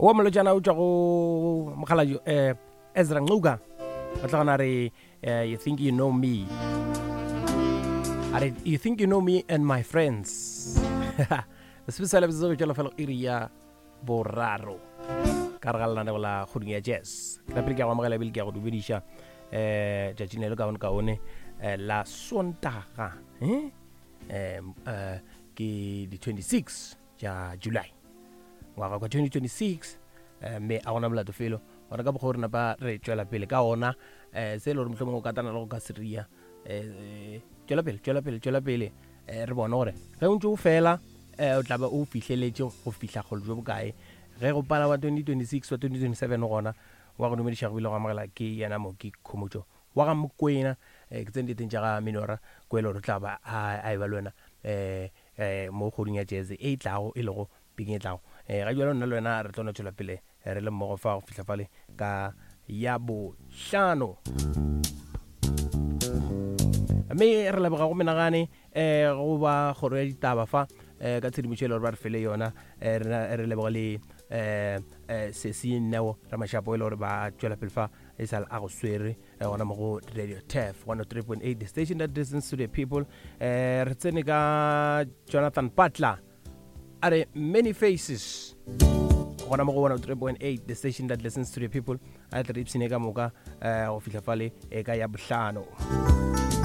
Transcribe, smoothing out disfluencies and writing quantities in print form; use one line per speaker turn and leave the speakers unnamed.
Wa molotšana o tšwa go mokgalabje um Ezra Ncuka, o tla gona re you think you know me, a re you think you know me and my friends. Sebesela botse go tšwela fela iri ya boraro ka re ga lenaneo la kgoding ya jazz. Ke rapele ke ya go amogela ebile ke ya go dumediša um tšatšing le le kaone kaone la Sontaga, um ke di 26 tša July ngwaga kwa 2026, mme a gona molato felo gona ka mokgwa o re napa re tšwela pele ka ona. Se e le gore mohlomongwe o katana le go ka seria, tšwela pele, tšwela pele, tšwela pele, re bone gore ge o ntse o fela o tla ba o fihleletše go fihla kgolo jo bokae ge go pala wa 2026 wa 2027. Gona wa go dumediša go bile go amogela ke yena Moki Khomotšo wa ga Mokwena. Ke tsene diteng tša ga Minora Kwelo, re tla ba a e ba le wena mo kgoding ya jazz e e tlago, e lego bekeng e tlago. Ga bjalo nna le wena re tlo no tšwela pele re le mmogo fa go fihla fale ka ya bohlano, mme re leboga go menagane go ba kgoro ya ditaba fa ka tshedimošo e le gore ba re fele yona. Re leboga le Sesi Neo Ramashapo e le gore ba tšwela pele fa e sa le a go swere gona mo go Radio Tef 103.8, the station that listens to the people. Re tsene ka Jonathan Butler, a re Many Faces, gona mo go 103.8, the station that listens to the people. A tle re ipshine ka moka go fihla fale ka ya bohlano.